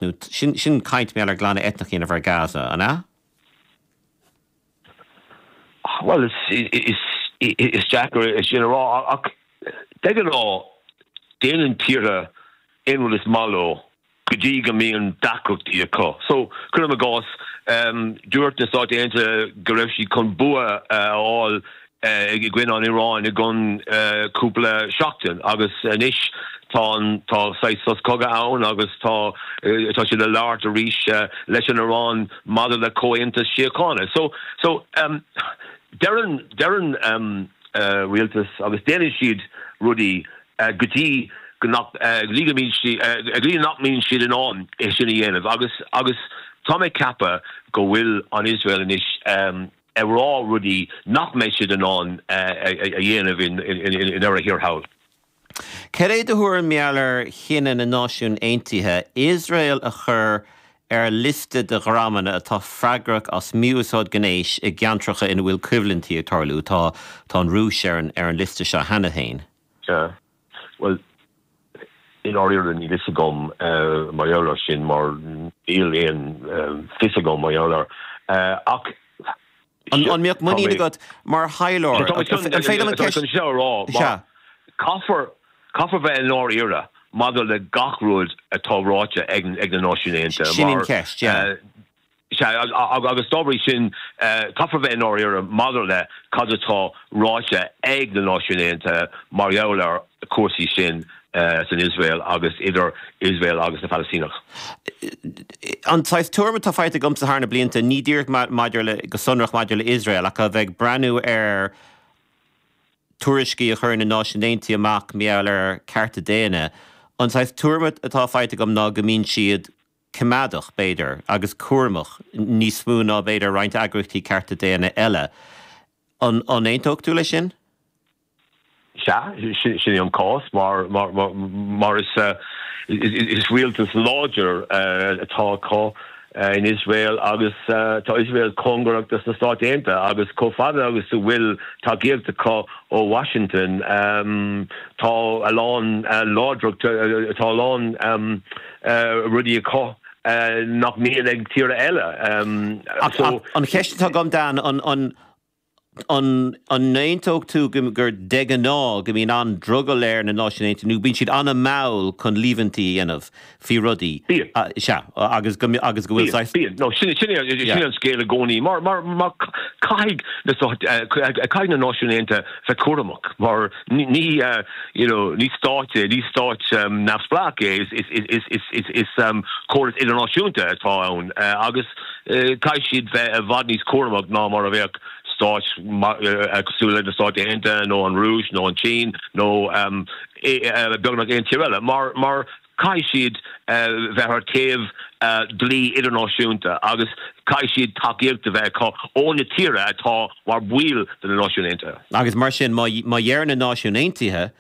Nó sin, sin caint mar gheall ar ghlanadh eitneach a dhéanamh ar Gaza, an ea? Bhuel, is, is, is deacair é sin a rá, ach de ghnáth, déanann tíortha aon rud is maith leo go dtí go mbíonn deacrachtaí acu. So, cuirim i gcás, dúirt na Stáit Aontaithe go raibh siad chun bua a fháil i gcoinne an Iaráin i gcionn cúpla seachtain agus anois tá an tá saghas sos cogaidh ann agus tá tá siad ag labhairt arís leis an Iaráin maidir le comhaontas síochána. So so deireann deireann rialtas agus déanann siad rudaí go dtí go nach go dtí go mbíonn siad go dtí nach mbíonn siad in ann é sin a dhéanamh agus agus tá mé ag ceapadh go bhfuil an Iosrael anois ag rá rudaí nach mbeidh siad in ann a dhéanamh i ndeireadh thiar thall. Cad é do thuairim mar gheall ar chinneadh na Náisiún Aontaithe Iosrael a chur ar liosta de dhreamanna atá freagrach as mí-úsáid gnéis i gceantracha ina bhfuil coimhlintí ag tarlú? Tá an Rúis ar an liosta seo cheana féin. Sea. Bhuel, i ndáiríre níl fhios agam mar gheall air sin mar níl aon fios agam mar gheall air. Ach An mbeadh muinín agat mar thaidhleoir? An féidir liom an ceist? Tá mé chun seo a rá mar caithfear, caithfear bheith i ndáiríre maidir le gach rud atá ráite ag na Náisiúin Aontaithe Sin an cheist, yeah. Sea, agus dá bhrí sin, caithfear bheith i ndáiríre maidir le cad atá ráite ag na Náisiúin Aontaithe mar gheall ar chúrsaí sin san Iosrael agus idir Iosrael agus na Palaistíneach. An saghas tuairim atá faighte agamsa thar na blianta, ní díreach maidir le, go sonrach maidir le Iosrael, ach a bheith ag breathnú ar tuairiscí a chuireann na Náisiúin Aontaithe amach mar gheall ar cearta daonna, an saghas tuairim atá faighte agam ná go mbíonn siad coimeádach, b'fhéidir, agus cúramach, níos mó ná, b'fhéidir, roinnt eagraíochtaí cearta daonna eile. An aontódh tú leis sin? Sea, sin é an cás, mar is rialtas láidir atá acu in Iosrael agus tá Iosrael cóngarach dos na Stáit Aontaithe agus chomh fada agus a bhfuil tacaíocht acu ó Washington tá a lán láidreacht, tá a lán rudaí acu nach mbíonn ag tíortha eile. Ach an cheist atá agam, Dan, an an aontódh tú gur de ghnáth go mbíonn an-drogall ar na Náisiúin Aontaithe nó bíonn siad an-mhall chun líomhaintí a dhéanamh faoi rudaí? Bíonn. Sea, agus go agus go bhfuil saghas. Bíonn. No, sin sin sin an scéal i gcónaí. Mar mar mar caithfidh na caithfidh na Náisiúin Aontaithe bheith cúramach mar Ní, you know, ní stát é, ní stát neamhspleách é, is córas idirnáisiúnta atá ann agus caithfidh siad bheith i bhfad níos cúramach ná mar a bheadh stáit cosúil le na Stáit Aontaithe nó an Rúis nó an tSín nó beagnach aon tír eile mar Caithfidh siad bheith ar taobh dlí idirnáisiúnta agus caithfidh siad tacaíocht a bheith acu ó na tíortha atá mar bhaill de na Náisiúin Aontaithe. Agus mar sin, má deireann na Náisiúin Aontaithe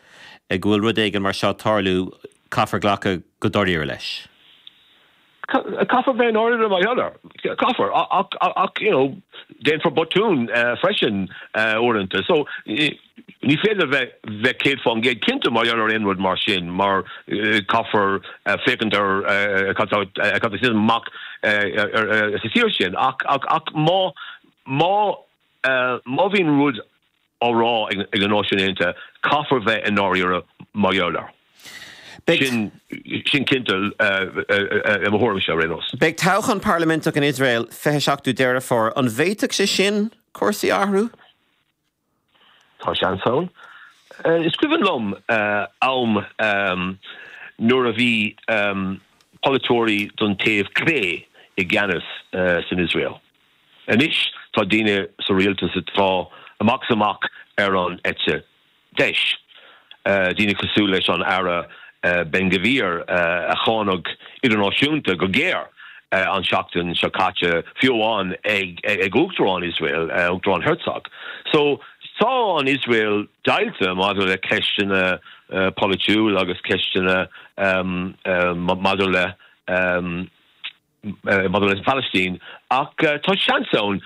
go bhfuil rud éigin mar seo ag tarlú, caithfear glacadh go dáiríre leis. Caithfear bheith i ndáiríre mar gheall air. Caithfear. Ach, ach, you know, déanfar botún freisin uaireanta. So, ní féidir bheith bheith 100% cinnte mar gheall ar aon rud mar sin mar caithfear féachaint ar cad tá cad tá ag titim amach sa tír sin. Ach, ach, ach má, má, má bhíonn rud á rá ag na Náisiúin Aontaithe, caithfear bheith i ndáiríre mar gheall air. Sin sin cinnte i mo thuairimse ar aon nós. Beidh toghchán parlaiminteach in Iosrael 27ú Deireadh Fómhair. An bhféadfadh sé sin cúrsaí a athrú? Tá seans ann. Is cuimhin liom am nuair a bhí polaiteoirí don taobh clé i gceannas san Iosrael. Anois tá daoine sa rialtas atá amach is amach ar an eite dheis, daoine cosúil leis an Aire Ben Gvir a cáineadh idirnáisiúnta go géar an tseachtain seo caite, fiú amháin ag Uachtarán Iosrael, Uachtarán Herzog. So tá an Iosrael deighilte maidir le ceisteanna polaitiúil agus ceisteanna maidir le. maidir leis an Phalaistín, ach tá seans ann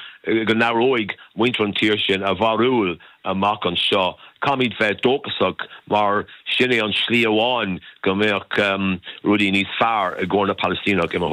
go n-athróidh muintir an tír sin a bharúil amach anseo. Caithfimid bheith dóchasach mar sin é an slí amháin go mbeadh rudaí níos fearr i gcomhair na Palaistíneach i mo.